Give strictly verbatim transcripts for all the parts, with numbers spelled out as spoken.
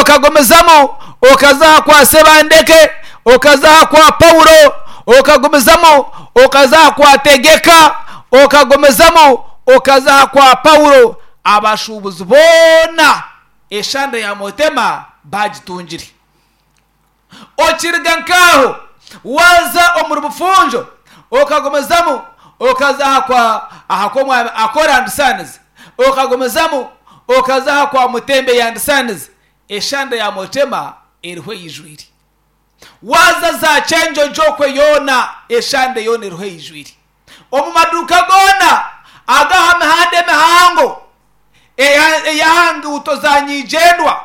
Okagumizamu okaza aha kwa Sebandeke, okaza aha kwa Paulo, okagumizamu okaza aha kwa Tegeka, okagumizamu okaza aha kwa Paulo. Abashuubuzi boona eshande ya Motema bagitungire. Okiriga nk'aho waaza omuri Bufunjo, okagumizamu okaza aha kwa aha kw'omwami Akora and Sons, okagumizamu okaza aha kwa Mutembe and Sons, eshande ya Motema eriho eijwire. Waaza za Kyenjojo okwe yoona eshande yoona eriho eijwire. Omu maduuka goona ag'aha mihanda emihango ey'aha nguuto za nyigyendwa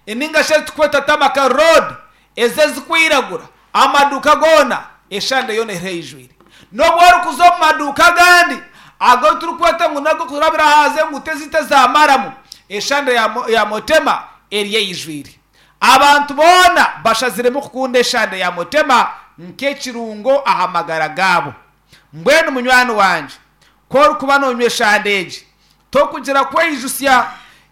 ninga shi eziturikweta Tamaka Road ezi ezirikwiragura, amaduuka goona eshande yoona eriho eijwire. N'obu orikuza omu maduuka agandi agu turikweta ngu n'ag'okurabira aha z'enguuto ezaitu eza maramu, eshande ya Motema eriyo eijwire. Abantu boona bashaziremu kukunda eshande ya Motema nk'ekirungo aha magara gaabo. Mbwenu munywani wangye, ku orikuba noonywa eshande egi, torikugira kweijutsya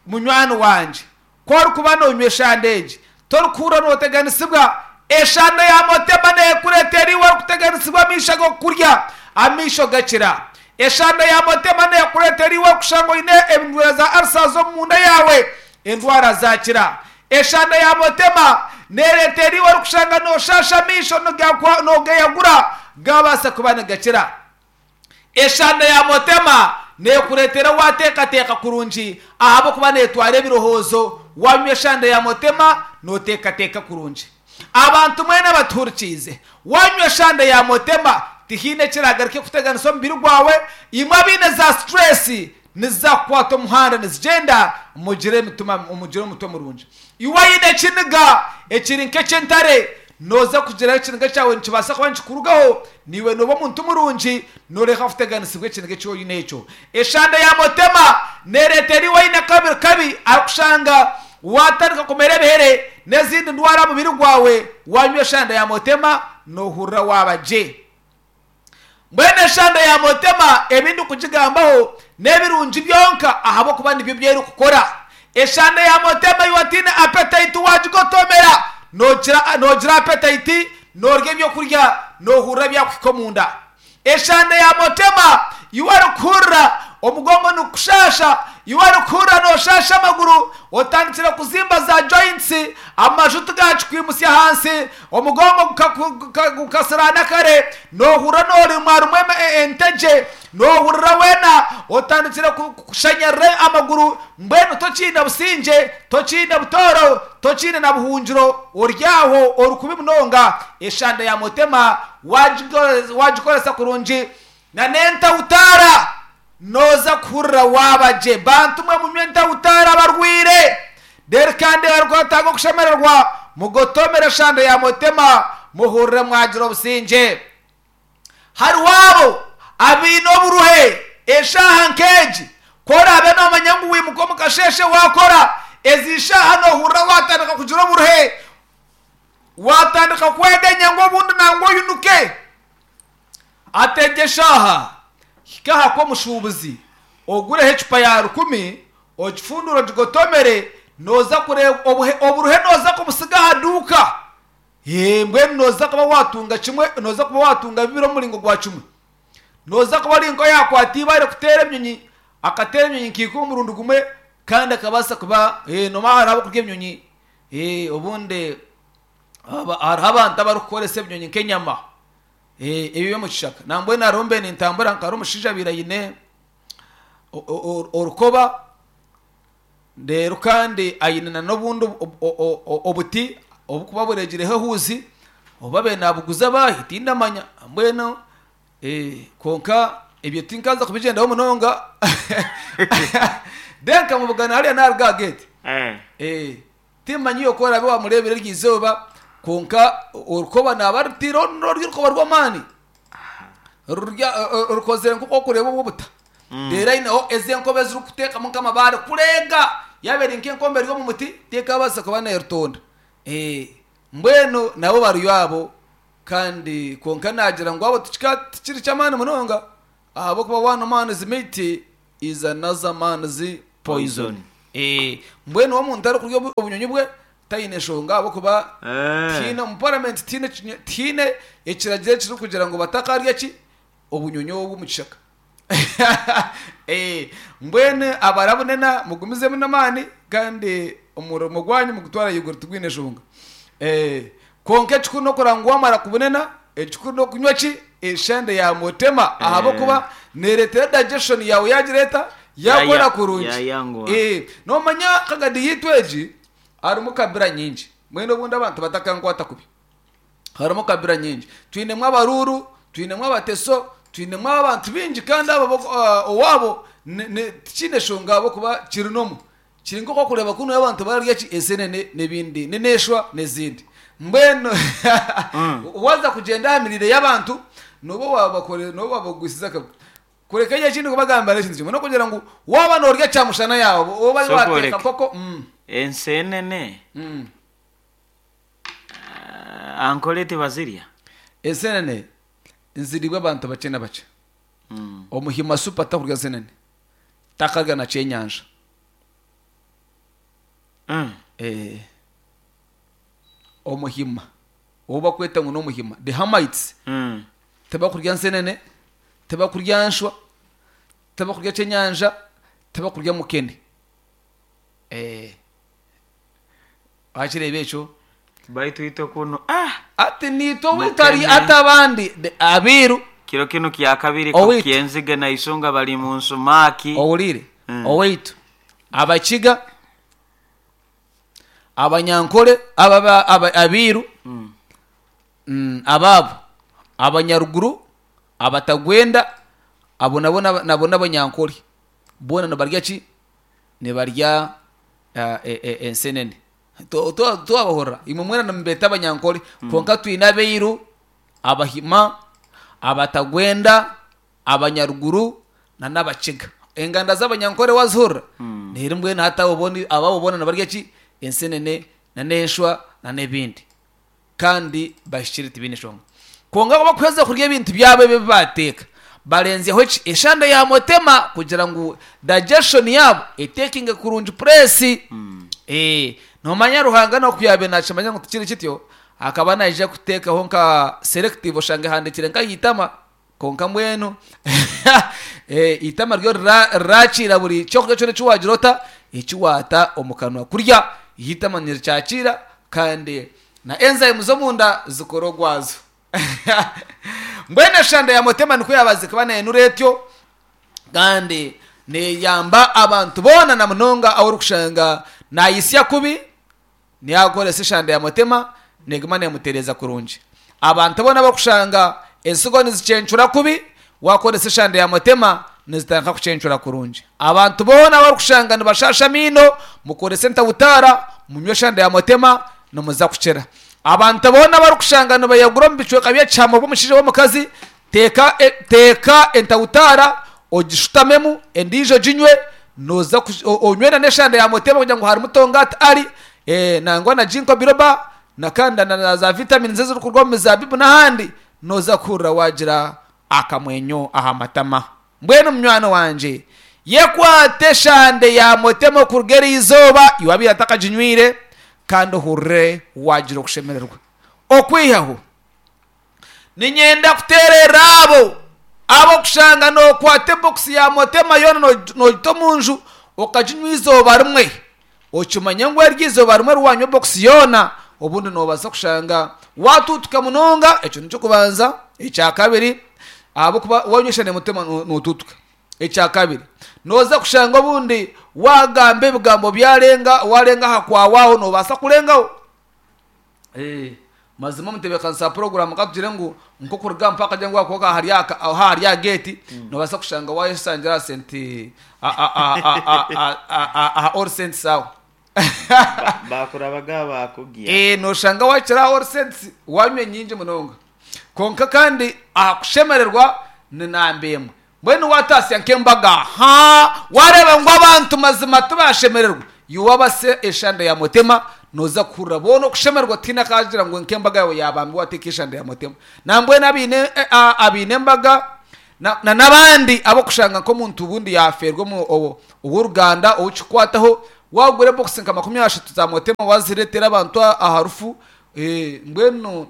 munywani wangye. Ku orikuba noonywa eshande egi, torikuhurira nooteganisibwa. Eshande ya Motema neekureetera iwe orikuteganisibwa amaisho ag'okukurya, amaisho gakira. Eshande ya Motema neekureetera iwe orikushanga oine endwara za ulcers omunda yaawe, endwara zakira. Eshande ya Motema neereetera iwe orikushanga nooshaasha amaisho noogeyagura, gaabaasa kuba nigakira. Eshande ya Motema neekureetera waateekateeka kurungi ahabw'okuba neetwara ebirowoozo. Waanywa eshande ya Motema nooteekateeka kurungi. Abantu mwena abatuhurikiize, waanywa eshande ya Motema tihaine ekiragaruke kuteganisa omubiri gwawe. Imwe abaine za stress niziza kukwata omuhanda nizigyenda, mugire emitima, mugire omutwe murungi. Iwe oine ekiniga ekiri nk'eky'entare, nooza kugira ekiniga kyawe nikibaasa kuba nikikurugaho, naiwe nooba omuntu murungi, nooreka kuteganisibwa ekiniga eki oine ekyo. Eshande ya Motema neereetera iwe oine akabiri kabi arikushanga waatandika kumera ebihere n'ezindi ndwara aha mubiri gwawe, waanywa eshande ya Motema noohurira waaba gye. Mbwenu eshande ya Motema ebi ndikugigambaho n'ebirungi byonka ahabw'okuba nibyo bi erikukora. Eshande ya Motema iwe otaine appetite waagigotomera, noogira noogira appetite, noorya ebyokurya noohurira byakuhika omunda. Eshande ya Motema iwe orikuhurira omugongo nigukushaasha, iwe orikuhurira nooshaasha amaguru, otandikire kuzimba za joints, amaju tigakikwimutsya ahansi, omugongo gukasiraana kare, noohurira noorimwarumwa entegye, noohurira weena otandikire kushanyarara amaguru, mbwenu tokiine busingye, tokiine butooro, tokiine na buhungiro, ori aho ori kubi munonga. Eshande ya Motema waagikoresa kurungi na n'entahutaara nooza kuhurira waaba gye. Bantu mwe munywe entahutaara abarwaire, reero kandi abarikwetenga okushemererwa mugotomere eshande ya Motema muhurire mwagira obusingye. Hariho abo abaine oburuhe eshaaha nk'egi, ku oraabe noomanya ngu wimuka omu kasheeshe waakora, ezi shaaha noohurira waatandika kugira oburuhe, waatandika kweganya ngu obundi nangwa oinuke. Hati egi eshaaha hika aha kw'omushuubuzi ogureho ecupa ya rukumi, ogifundure ogigotomere, nooza kureeba oburuhe nooza kubusiga aha duuka. Mbwenu nooza kuba waatunga kimwe, nooza kuba waatunga bibiri omu muringo gwa kimwe. Nooza kuba ori nk'oyaakwata eibaare kuteera ebinyonyi, akateera ebinyonyi nka ikumi omurundi gumwe kandi akabaasa kuba noomanya hariho abarikukurya ebinyonyi, obundi hariho abantu abarikukoresa ebinyonyi nk'enyama ebi eby'omu kishaka. Nambwenu hariho mbe nintambura nka hariho omushaija abaire aine orukoba reero kandi aine n'obundi obuti oburikuba bureegireho ehuuzi obu abaire naabuguza baahi tindamanya mbwenu kwonka ebyo tinkaza kubigyendaho munonga. Then nkamubugana hariya naaruga aha geeti. Timmanya iwe ku oraabe waamureebire eryo izooba kwonka orukoba naaba arutaireho ruri orukoba rw'amaani rukozire nk'oku orikureeba obw'obuta. Reero aineho ezi enkoba ezirikuteekamu nk'amabaare kureega yaaba eri nk'enkombe eri omu muti tekaabaasa kuba neerutonda. Mbwenu nabo bariyo abo kandi kwonka naagira ngu abo tikiri ky'amaani munonga ahabw'okuba one man's meat is another man's poison. Mbwenu omuntu arikurya obunyonyi bwe Tayine enshonga ahabw'okuba Eh. tihaine omu paramenti tihaine ekinye- tihaine ekiragiro ekirikugira ngu batakarya ki obunyonyi obu omu kishaka. Eh, mbwenu abarabunena mugumizemu n'amaani kandi omurimo gwanyu mugutware ahaiguru tigwine enshonga. Eh, kwonka ekikuru n'okureba ngu wamara kubunena ekikuru n'okunywa ki eshande ya mutema ahabw'okuba neereetera digestion yaawe yagireeta yakora Yaya- kurungi. yayanguha. Eh, nomanya kagadi yitu egi harimu kabira nyingi mbwenu obundi abantu batakankwata kubi harimu kabira nyingi twinemu abaruuru twinemu abateso twinemu abantu bingi kandi abo bo- ah, owaabo ne- ne- tikiine eshonga ahabw'okuba kiri nomu kiri nk'okwakureeba kunu abantu bararya ki ensenene n'ebindi n'eneshwa n'ezindi mbwenu waza kugyenda aha mirire y'abantu noba wabakore noba wabagwisiza akabi kureka ekyo ekindi kubagambira ekintu kimwe n'okugira ngu waaba noorya kyamushana yaawe oba So wateeka kureka. koko mm, Ensenene mm. ah, ankole tibazirya. Ensenene nziribwa abantu bakye na bakye. Mm. Omuhima supu atakurya nsenene takarya na kyenyanja. Mm. Eh, omuhima ou bakweta ngu n'omuhima the hamites Mm. tibakurya nsenene tibakurya nshwa tibakurya kyenyanja tibakurya mukene. Eh, wakireeba ekyo Baitu itwe kuno ah ati niitwe witari Mukene. ati abandi the abiiru kiro kinu kya kabiri Owaitu. kyenzige na isonga bali mu nsumaki. Owulire Mm. owaitu abakiga abanyankole aba- aba- abiiru Mm. mm, abaabo abanyaruguru abatagwenda abo nabo naba- nabo n'abanyankole boona nibarya ki nibarya ah, e- e- ensenene To- to- twabahurira imwe mwena nimubeeta abanyankole kwonka twine abairu abahima abatagwenda abanyaruguru na n'abakiga enganda z'abanyankole wazihurira neri mbwenu hati abo boona- ababo boona nibarya ki ensenene na n'enshwa na n'ebindi kandi bahikire tibiine eshonga kwonka bakuheza kurya ebintu byabo ebi bateeka barenzyeho ki eshande ya mutema kugira ngu digestion yabo etekinge kurungi puresi. Eh, nomanya Ruhanga nokuyabe nakimanya ngu tikiri kityo akaba naija kuteekaho nka selective oshange ehandikire nka itama konka mbwenu eh, itama ryo rira- rirakiira buri kyokurya kyona ekiwagira ota ekiwaata omu kanwa kurya itama nirikyakiira kandi na enzyme z'omunda zikora ogwazo. Mbwenu eshanda ya mutema nikwo yabaze kuba neyenura etyo kandi neyamba abantu boona na munonga ahu orikushanga nayisya kubi niyakoresa eshanda ya mutema neguma nemutereza kurungi. Abantu boona abakushanga ensigo nizicencura kubi wakoresa eshanda ya mutema nizitandika kucencura kurungi. Abantu boona abarikushanga nibashasha amiino mukorese entabutaara munywe eshanda ya mutema nimuza kukira. Abantu boona abarikushanga nibayagura omu bicweka by'ekihama bw'omushaija w'omukazi teeka e- teeka entabutaara ogishutamemu endiijo ginywe noza kush- o- onywe na n'eshanda ya mutema kugira ngu harimu tongati ari eh, nangwa na ginkgo biloba na kandi na, na za vitamins ezirikuruga omu mizabibu n'ahandi noza kuhurira wagira akamwenyo aha matama. Mbwenu munywani wangye yekwate eshande ya mutema okuruga eri izooba iwe abaire atakaginywire kandi ohurire wagira okushemererwa. Okwihaho ninyenda kuteerera abo abokushanga nokwata ebokisi ya mutema yoona no- nogita omu nju okaginywa izooba rimwe okimanye ngu eryo izooba rimwe riwanywa ebokisi yoona obundi nobaasa kushanga watuutuka munonga. Ekyo nikyo kubanza. Ekya kabiri ahabwokuba wanywa eshande ya mutema no- notuutuka. Ekya kabiri noza kushanga obundi wagamba ebigambo byarenga warenga aha kwawaho nobaasa kurengaho. Eh, mazima omutebeekanisa program katugire ngu nkokuruga mpaka kugira ngu wakuba hari aka- aho hari aha gate nobaasa kushanga wayesangira aha senti a- a- a- a- a- a- a- a- aha All Saints aho. Bakurabaga bakugia. Eh, noshanga wakira aha All Saints wanywa nyingi munonga konka kandi aha kushemererwa ni namba emwe. Mbwenu watasya nk'embaga ha wareba ngu abantu mazima tibashemererwa iwe eshanda ya mutema noza kuhurira boona okushemererwa tihaine akagira ngu nk'embaga yawe yabambi wateeka eshanda ya mutema. Nambwenu abaine eh, a- abaine embaga na na n'abandi abokushanga nk'omuntu obundi yaferwa omu- owo- ow'oruganda owukikwataho Wagura ebokisi nka makumi ashatu za motema, wazireetera abantu aha rufu. eh, mbwenu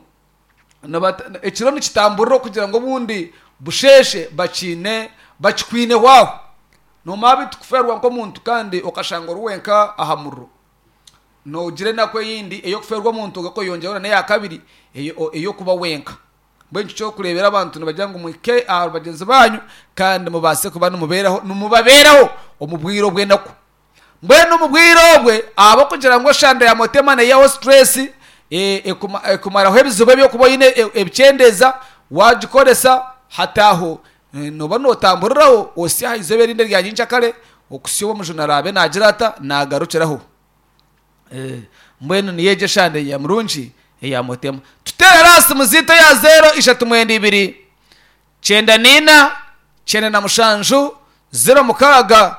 nibata- ekiro nikitamburira okugira ngu obundi busheshe bakiine bakikwine waaho. Nomanya bitu kuferwa nk'omuntu kandi okashanga ori wenka aha muriro, nogira enaku eyindi ey'okuferwa omuntu, ogakoyongyeraho n'eya kabiri eyo- ey'okuba wenka. Mbwenu kyokureebera abantu nibagira ngu muhike aha bagyenzi banyu kandi mubaase kuba nimubeeraho, nimubabeeraho omu bwire obw'enaku. Mbwenu omu bwire obwe ahabw'okugira ngu eshanda ya motema neyihaho stress, eh, ekuma- ekumaraho ebizibu ebyokuba oine, e- ebikyendeeza wagikoresa hataho, eh, noba notamburiraho osya aha izooba erindi erya nyenkyakare, okusya obu omujuni araabe naagira ata naagarukiraho. Eh, mbwenu niyo egyo eshanda ya murungi eya motema. Tuteerere aha simu ziitu eya zeero ishatu mwenda ibiri kyenda niina kyenda na mushanju zero mukaaga,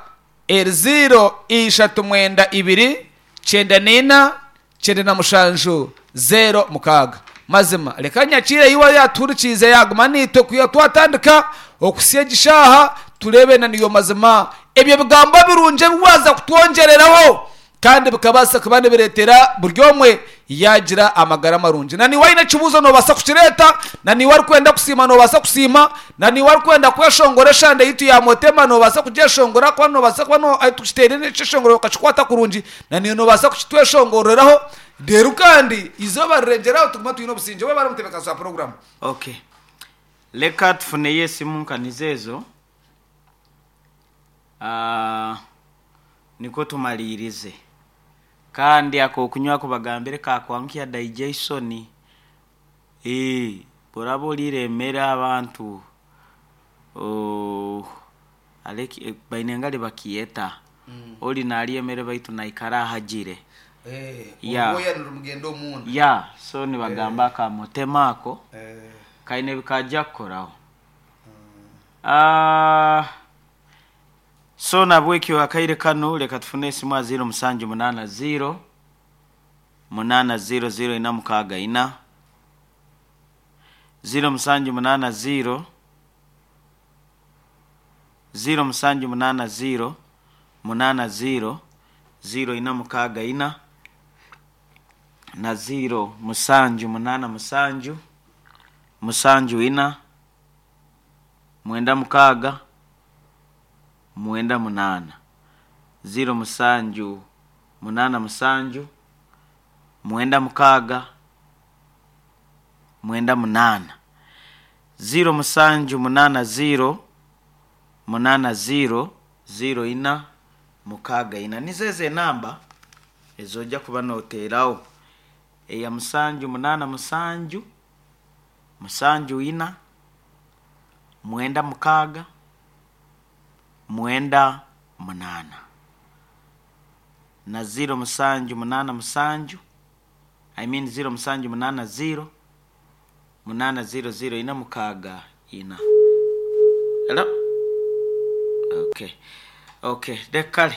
eri zeero ishatu mwenda ibiri kyenda niina kyenda na mushanju zero mukaaga. Mazima reka nyakiire iwe yatuhurikiize yaguma niitwe kwiha twatandika okusya egi shaaha, tureebe na niyo mazima ebyo bigambo birungi ebi waaza kutwongyereraho kandi bikabaasa kuba nibireetera buri omwe yagira amagara marungi. Na niwe aine ekibuuzo noobaasa kukireeta, na niwe arikwenda kusiima noobaasa kusiima, na niwe arikwenda kweshongora eshanda yitu ya motema noobaasa kugyeshongora, kuba noobaasa kuba no- eh, tukiteire ekyeshongoro okakikwata kurungi, na niwe noobaasa kukitweshongoreraho. Reero kandi izooba rirengyeraho tuguma twine obusingye. We bari omutebeekanisa wa puroguramu. Okay, leka tufuneyo esimu nkanizo ezo. Ah, niko tumalirize. Kandi akokunywa kubagambire kakwankya digestion. Eh, boraba orire emere abantu, oh, aleki eh, baine ngali bakiyeta oli nalya emere baitu naikara ahagire. Yeah. Orwoya nirumugenda omunda. Ya, so nibagamba akamutema ako kaine bikajja kukoraho. Ah, so nabwekyo akaire kano leka tufune esimu a ziro musanju munana ziro munana ziro ziro ina mukaaga ina, ziro musanju munana ziro ziro musanju munana ziro munana ziro ziro ina mukaaga ina, na ziro musanju munana musanju musanju ina mwenda mukaaga mwenda munana, ziro musanju munana musanju mwenda mukaaga mwenda munana, ziro musanju munana ziro munana ziro ziro ina mukaaga ina. Nizo ezo enamba ezojja kuba noteeraho, eya musanju munana musanju musanju ina mwenda mukaaga mwenda munana, na ziro musanju munana musanju, I mean ziro musanju munana ziro munana ziro ziro ina mukaaga ina. Hello? Okay, okay, lekale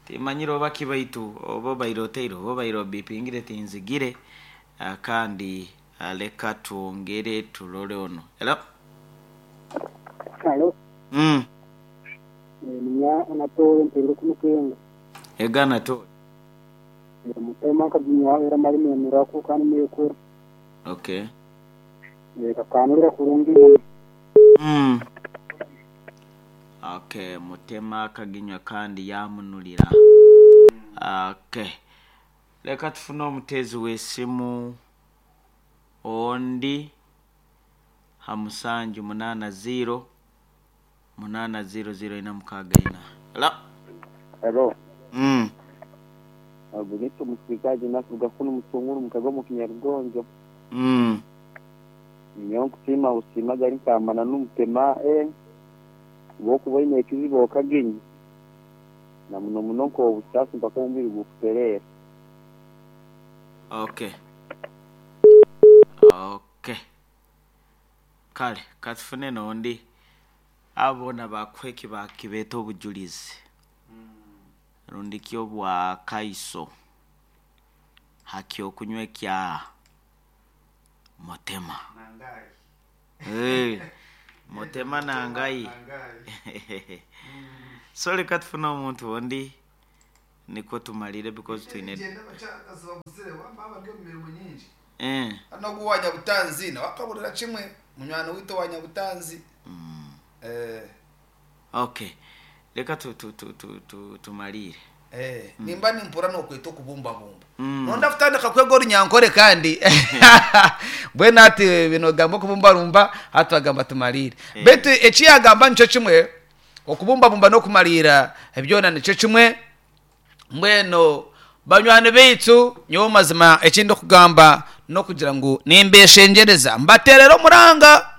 timanyire oba kibaitu oba obaire oteire oba obaire obipingire tinzigire. Ah, kandi ah, leka twongere tulole ono. Hello? Halo, mm. ninya anatole mpere kumukenga. Egana to. Mutema kaginya era mali nemerako kandi mekuru. Okay. Kakanurira kurungi. Mm. Okay, mutema akaginywa kandi yamunulira. Okay, leka tufune omutezi w'esimu ondi ha musanju munana ziro munana ziro ziro ina mukaaga ina. Hello? Hello. Mm. Abulito musikaji nakuga kuno mutunguru mukago mu kinyarugonjo. Mm. Niyo nkusima usima gari kamana n'umutema eh bokuba ine ekizibu okaginyi. Na muno muno ko obusaasi mpaka omubiri gukuterera. Okay. Okay. Kale katufune nondi abona bakweki bakibeta obujulizi rundi kyo bwa kaiso haki okunywa kya motema. Hey, motema nangai. So leka tufune omuntu ondi. Nikwo tumalire because twine eh nogu wa Nyabutanzi nawe akaburira kimwe munywani witu wa Nyabutanzi. Eh. Okay, reka tu, tu, tu, tu, tu, tumalire. Eh, nimba nimpura nokweta okubumbabumba. Mm. Nonda kutandika kwega orunyankore kandi mbwenu ati bino gamba okubumbarumba hati bagamba tumalire. Eh. Betu ekiyagamba nikyo kimwe, okubumbabumba n'okumalira byona nikyo kimwe. Mbwenu banywani baitu, nyowe mazima ekindi okugamba n'okugira ngu nimbeshengereza mbaterera omuranga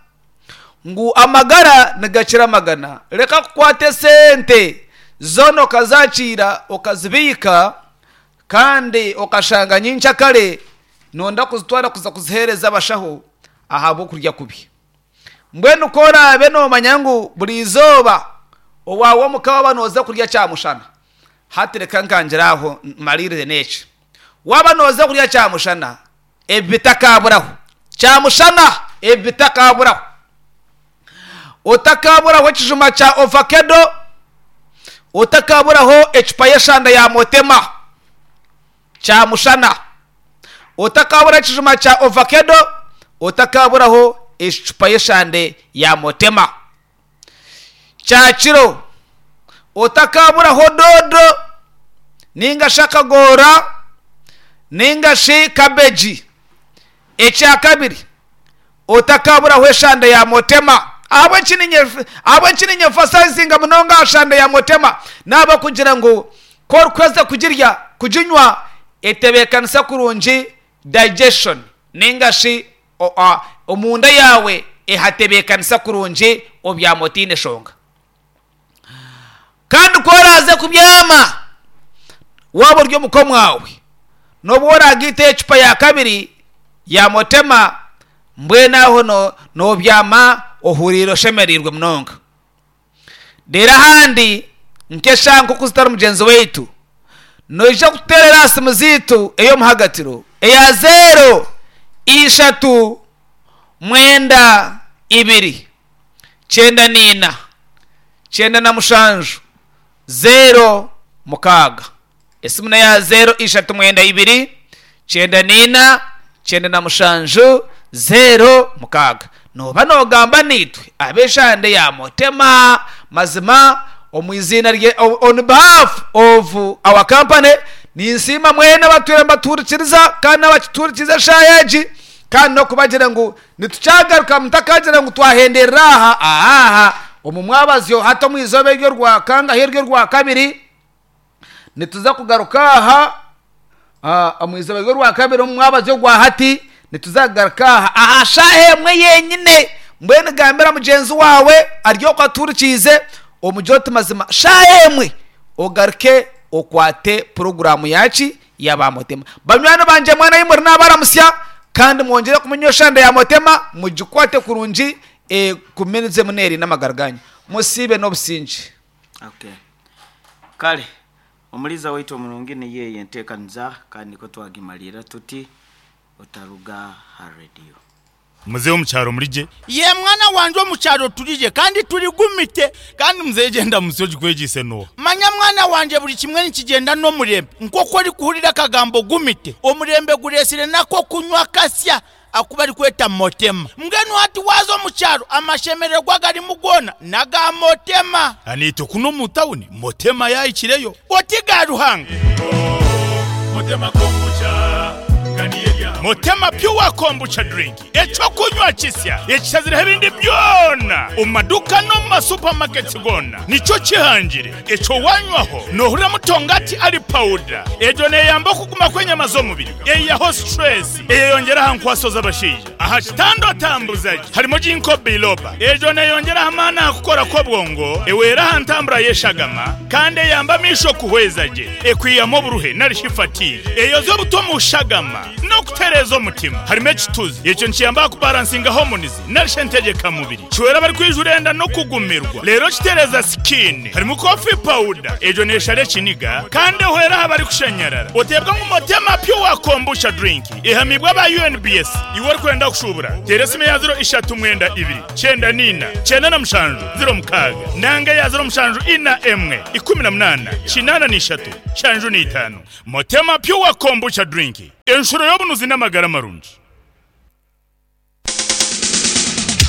ngu amagara nigakira amagana. Reka kukwata esente zona okazakiira okazibiika kandi okashanga nyincakare nonda kuzitwara kuza kuzihereza abashaho ahabw'okurya kubi. Mbwenu ko oraabe noomanya ngu buri izooba owaawe omuka waaba nooza kurya kyamushana, hati reka nkangira aho malirire n'eki. Waaba nooza kurya kyamushana, ebi bitakaburaho. Kyamushana ebi bitakaburaho. Otakaburaho ekijuma kya ovakedo, otakaburaho ecupa y'eshanda ya motema kyamushana, otakaburaho ekijuma kya ovakedo, otakaburaho ecupa y'eshande ya motema kyakiro, otakaburaho dodo ninga shi akagora ninga shi kabeji. Ekya kabiri, otakaburaho eshande ya motema. Ahabw'eki ninyemfasayizinga munonga aha shande ya motema, naaba kugira ngu ku orikweza kugirya kuginywa etebeekanisa kurungi digestion ninga shi omunda yawe ehatebeekanisa kurungi obyama otiine eshonga. Kandi ku oraaze kubyama waaba ori omuka mwawe, n'obu oragiita ecupa ya kabiri ya motema, mbwenu aho nobyama ohuriire oshemereirwe munonga. Reero ahandi nk'eshaaha nk'oku zitari mugyenzi waitu, noija kututeerera aha simu zaitu ey'omuhagatiro eya zeero ishatu mwenda ibiri kyenda niina kyenda na mushanju zeero mukaaga. Esimu neya zeero ishatu mwenda ibiri kyenda niina kyenda na mushanju zeero mukaaga. Noba nogamba naitwe ab'eshande ya motema. Mazima omu iziina rye, on behalf of our company, ninsiima mwena abatwire mbatuhurikiriza kandi n'abakituhurikiriza eshaaha egi, kandi n'okubagira ngu nitukyagaruka mutakagira ngu twahenderera aha aha omu mwabazyo hati omu izooba eryo rwa kangahi eryo rwa kabiri nituza kugaruka aha omu izooba eryo rwa kabiri omu mwabazyo gwa hati nituza kugaruka aha aha shaaha emwe yenyine. Mbwenu gambira mugyenzi wawe ari okwo atuhurikiize omugire oti mazima shaaha emwe ogaruke okwate puroguramu yaki yaba motema. Banywani bangye mwena ahi muri nabaramusya kandi mwongyere kumenya eshande ya motema mugikwate kurungi ekumenize muneri n'amagara ganyu. Musiibe n'obusinge. Okay, kale omuliza waitu omurungi niyo enteekaniza kandi niko twagimalira tuti otaruga ha radio. Muzehe omukyaro murije? Ye mwana wanje, omukyaro turije kandi turigumite. Kandi muzehe genda musi ogikwegise no. Manya mwana wanje, buri kimwe nikigenda n'omurembe. Nk'oku orikuhurira akagambo gumite, omurembe guresire nako kunywa kasya akuba arikweta motema. Mbwenu hati waza omukyaro amashemererwa garimu goona naga motema. Anitwe kuno mu tawuni motema yahikireyo. Oti ga Ruhanga. Motema kombucha. Motema pure kombucha drink, ekyokunywa kisya ekishazireho ebindi byona omu maduka no mu masupamaketi gona nikyo kihangire. Ekyo wanywaho nohurira mutongati ari pawuda. Egyo neyamba okuguma kw'enyama z'omubiri, eyihaho stress, eyeyongera aha nkwaso z'abashaija aha kitanda otambuzagi. Harimo ginkgo biloba, egyo neyongera amaani aha kukora kw'obwongo, ewera aha ntambura y'eshagama kandi eyamba amaisho kuhweza gye, ekwihamu oburuhe narishi fatigue, eyoza obuto mu shagama n'okutereza. Kitereeza omutima. Harimu ekituzi ekyo nikiyamba kubalansinga hormones narisha entegeka mubiri. Kiwera abari enda n'okugumirwa. Leero kitereeza skin. Harimu coffee powder, egyo neeshara ekiniga kandi ehwera aha barikushanyarara. Oteebwa ngu Motema Pure Kombucha drink ehamibwa aba U N B S. Iwe orikwenda kushubura, teera esimu ya ziro ishatu mwenda ibiri kyenda niina kyenda na mushanju ziro mukaaga nanga ya ziro mushanju ina emwe ikumi na munaana kinaana n'ishatu shanju n'itaano. Motema Pure Kombucha drink, enshuro y'obunuzi n'amagara marungi.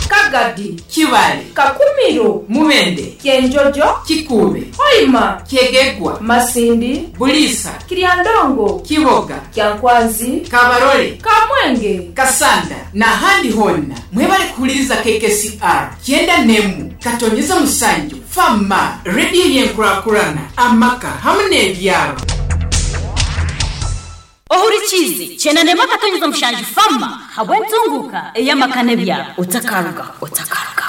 Kagadi, Kibale, Kakumiro, Mubende, Kyenjojo, Kikuube, Hoima, Kyegegwa, Masindi, Bulisa, Kiryandongo, Kiboga, Kyankwanzi, Kabarole, Kamwenge, Kasanda n'ahandi honna mwebale kuhuliriza K K C R kyenda nemu katonyeza musanju Fama rediyo yenkurakurana amaka hamwe n'ebyaro. Ohurikize kyenda nemu akatonyeza mushanju Fama habw'entunguka ey'amaka n'ebyaro. Otakaruga, otakaruga.